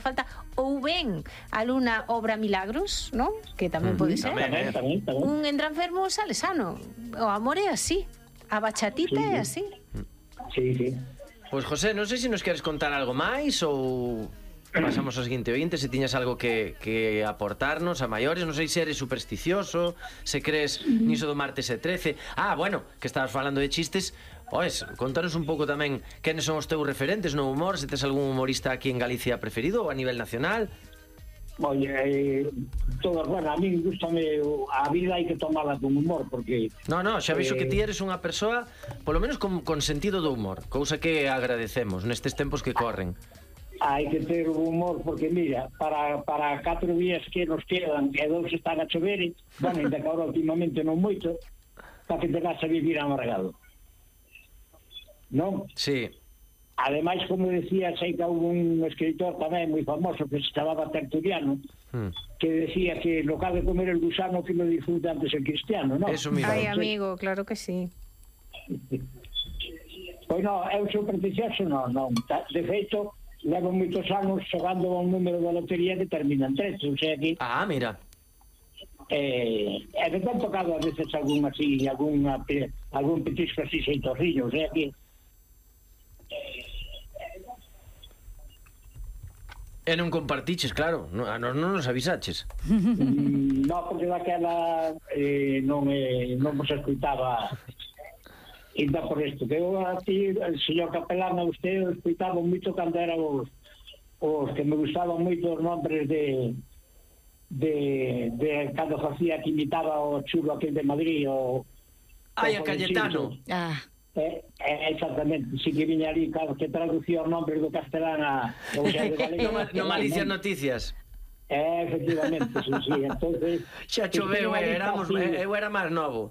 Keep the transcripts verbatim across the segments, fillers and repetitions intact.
falta, ou ben algunha obra milagros, non? Que tamén pode ser. Tamén, tamén, tamén. Un entra enfermo sale sano. O amor é así. A bachatita Sí, é sí. así. Sí, sí. Pois, José, non sei se nos queres contar algo máis ou pasamos ao seguinte ointe, se tiñas algo que, que aportarnos a maiores. Non sei se eres supersticioso, se crees niso do martes e trece. Ah, bueno, que estabas falando de chistes. Oes, contanos un pouco tamén quenes son os teus referentes no humor, se tes algún humorista aquí en Galicia preferido ou a nivel nacional. Oye, eh, todas, bueno, a mí gustame a vida, hai que tomala con humor, porque... No, no, xa vexo eh, que ti eres unha persoa polo menos con, con sentido do humor, cousa que agradecemos nestes tempos que corren. Hai que ter o humor, porque mira, para, para catro días que nos quedan e dous están a chover, bueno, ainda que agora últimamente non moito, para que te vas a vivir amargado, non? Sí. Ademais, como decía, sei que houve un escritor tamén moi famoso que se chamaba Tertuliano, hmm. que decía que lo que ha de comer el gusano que lo disfruta antes el cristiano, non? Eso mismo. Ai, amigo, claro que sí. Pois non, eu supersticioso non, non. De feito, levo moitos anos xogando un número de lotería que termina en trece, o sea que... Ah, mira. Eh, e me han tocado a veces algún así, algún, algún petisco así xeitorrillo, o sea que... E non compartiches, claro, non, a nos non nos avisaches. Mm, no, porque daquela eh, non, eh, non vos escuitaba ainda por isto, que eu a ti, el señor capelán, a usted o escuitaba moito cando era os, os que me gustaban moito os nombres de de, de cando facía que imitaba o chulo aquel de Madrid o... Ai, a Cayetano. Ah. Eh, eh, exactamente, si que viña ali claro, que traducía os nombres do castelán a, o sea, de galego, No, no Malicias Noticias. eh, efectivamente, sí, sí, entonces Xa choveu, eh, éramos, eh, eu era máis novo.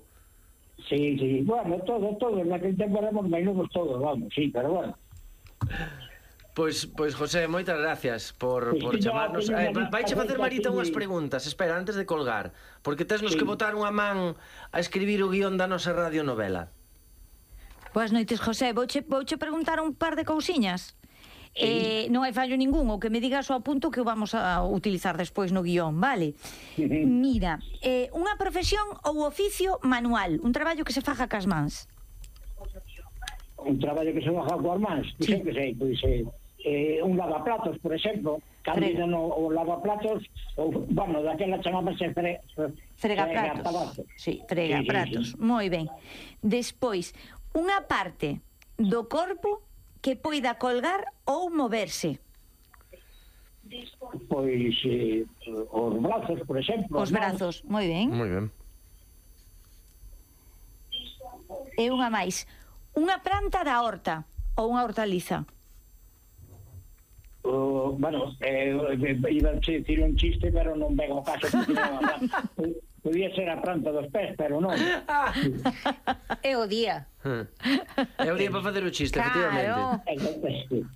sí, sí, bueno, todo, todo, naquele tempo éramos máis novos todos, vamos, sí, pero bueno. Pois, pois José, moitas gracias por, Pois por que chamarnos. ya, Eh, que ya, Vaiche facer que Marita ya, unhas que- preguntas. Espera, antes de colgar, porque tesnos Sí. que botar unha man a escribir o guión da nosa radionovela. Boas noites, José. Vouche, vouche preguntar un par de cousiñas. Eh, non hai fallo ningún, o que me digas ao punto que o vamos a utilizar despois no guión, vale? Mira, eh, unha profesión ou oficio manual, un traballo que se faja cas mans. Un traballo que se baja coas mans, pois Sí. sí. que sei, pois eh, eh, un lavaplatos, por exemplo, cando Frega. no, o lavaplatos, ou, bueno, daquela chamábase fre, fre, Fregapratos. Sí, fregapratos. Sí, sí, sí. Moi ben. Despois, unha parte do corpo que poida colgar ou moverse. Pois eh, os brazos, por exemplo. Os brazos, moi ben. Moi ben. E unha máis. Unha planta da horta ou unha hortaliza. Uh, bueno, eh, iba a decir un chiste, pero non vengo ao caso, porque non, podía ser a planta dos pés, pero non. É o día. É o día para facer o chiste, Claro. efectivamente.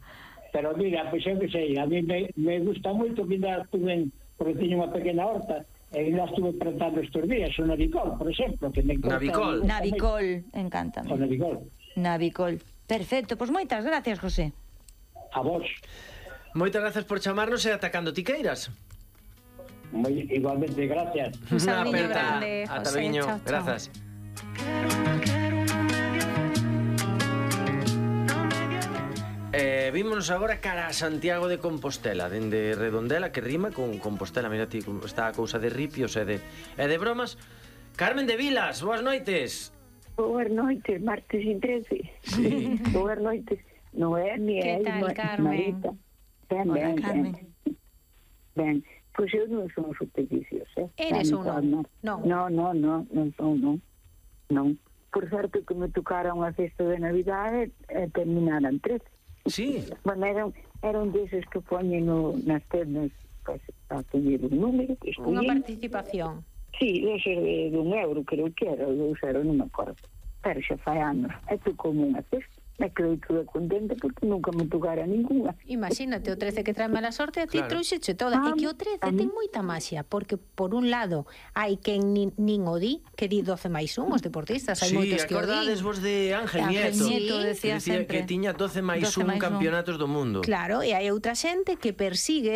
Pero mira, pois eu que sei, a mí me, me gusta moito que ainda estuve, porque teño unha pequena horta, e ainda estuve plantando estes días, o navicol, por exemplo, que me gusta- Navicol. Navicol, encántame. O navicol. Navicol. Perfecto, pois moitas gracias, José. A vos. Moitas gracias por chamarnos e atacando tiqueiras. Moi, igualmente, gracias. Un Unha saludiño aperta. grande, Ata José. loiño. Chao, chao. Grazas. Eh, vímonos agora cara a Santiago de Compostela, dende Redondela, que rima con Compostela. Mira ti, como está a cousa de ripios e de, e de bromas. Carmen de Vilas, boas noites. Boas noites, martes e trece. Sí. Boas noites. Noemi Que e tal, Ma- Carmen? Marita. Ben, Hola, ben, Carmen. ben. Ben, pois eu non son supersticiosa. Eres Ben, ou non? Non. Non, non, non, non son, non. Non. Por certo que me tocaron a festa de Navidade e terminaran trece. Sí. Bueno, eran, eran deses que poñen no, nas tendas pues, a poñer un número que Unha escollín. participación. Sí, deses de, de un euro, creo que era, ou dous euros, non me acordo. Pero xa fai anos. É tu como unha festa. Me quedei toda contenta porque nunca me tocara ninguna. Imagínate, o trece que trae mala sorte, a ti Claro. trouxeche toda. Ah, E que o trece a mí- ten moita maxia, porque por un lado hai quen nin, nin o di, que di doce máis un, os deportistas, hai Sí, moitos que o acordades din. vos de Ángel Ángel Nieto, Nieto Sí. decía que, dicía sempre. que tiña doce máis doce un máis un. campeonatos do mundo. Claro, e hai outra xente que persigue